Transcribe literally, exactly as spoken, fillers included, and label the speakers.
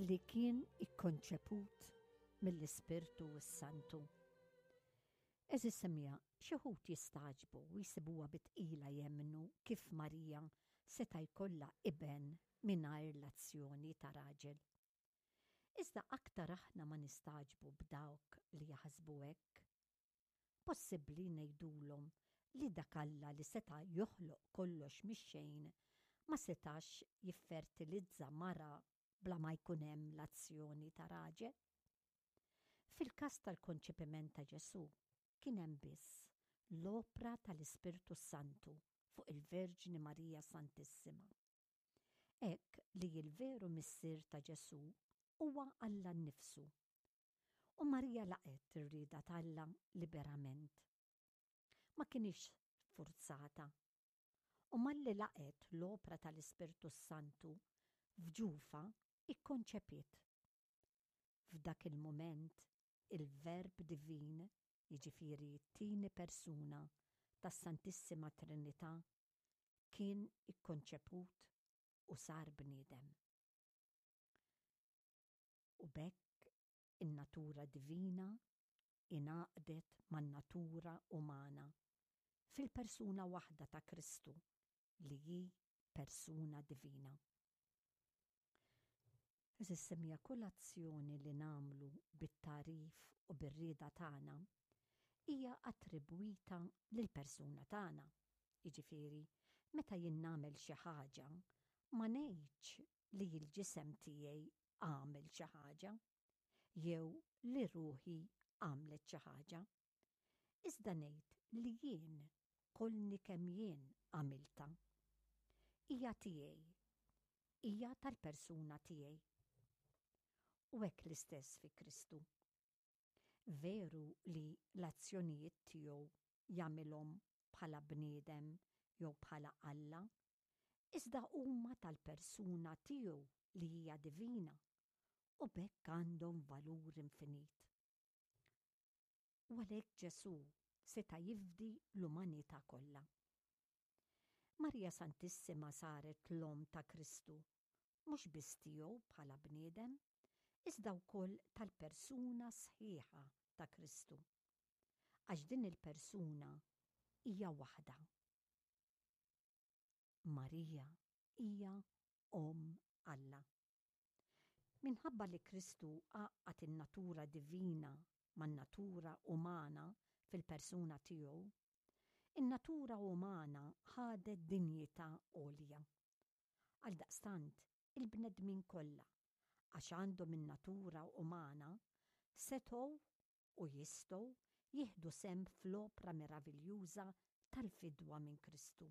Speaker 1: li kien ikkonċeput mill-Ispirtu s-Santu. Għeżież semmiegħa, xi wħud jistagħġbu u jsibuha bi tqila jemmnu kif Marija seta' jkollha iben mingħajr l-azzjoni ta' raġel. Iżda aktar aħna ma nistagħġbu b'dawk li jaħsbu hekk. Possibbli ngħidulhom li dak Alla li seta' joħloq kollox mix-xejn ma setax jiffertilizza mara bla ma jkun hemm l-azzjoni ta' raġel? Fil-każ tal-konċepiment ta' Ġesù kien hemm biss l-opra tal-Ispirtu Santu fuq il-Verġni Marija Santissima. Hekk li l-veru missier ta' Ġesù huwa Alla nnifsu. U Marija laqgħet ir-rieda t'Alla liberament. Ma kinitx sfurzata. U malli laqgħet l-opra tal-Ispirtu Santu f'ġufha ikkonċepiet. F'dak il-moment il-Verb Divin, jiġifieri t-tieni persuna tas-Santissima Trinità, kien ikkonċeput u sar bniedem. U b'hekk in-natura divina ingħaqdet man-natura umana fil-persuna waħda ta' Kristu li hi persuna divina. Għeżież semmiegħa, kull azzjoni li nagħmlu bit-tagħrif u bir-rieda tagħna hija attribwita lill-persuna tagħna. Jiġifieri, meta jien nagħmel xi ħaġa, ma ngħidx li l-ġisem tiegħi għamel xi ħaġa jew li ruħi għamlet xi ħaġa. Iżda ngħid li jien kollni kemm jien għamilta. Hija tiegħi, hija tal-persuna tiegħi. U hekk l-istess fi Kristu. Veru li l-azzjonijiet tiegħu jagħmilhom bħala bniedem jew bħala Alla, iżda huma tal-persuna tiegħu li hija divina u b'hekk għandhom valur infinit. U għalhekk Ġesù seta' jifdi l-umanità kollha. Marija Santissima saret l-omm ta' Kristu, mhux biss tiegħu bħala bniedem, iżda wkoll tal-persuna sħiħa ta' Kristu. Għax din il-persuna hija waħda. Marija hija Omm Alla. Minħabba li Kristu għaqqad in-natura divina man-natura umana fil-persuna tiegħu, in-natura umana ħadet dinjità għolja. Għaldaqstant, il-bnedmin kollha, għax għandhom in-natura umana, setgħu u jistgħu jieħdu sehem fl-opra meraviljuża tal-fidwa minn Kristu.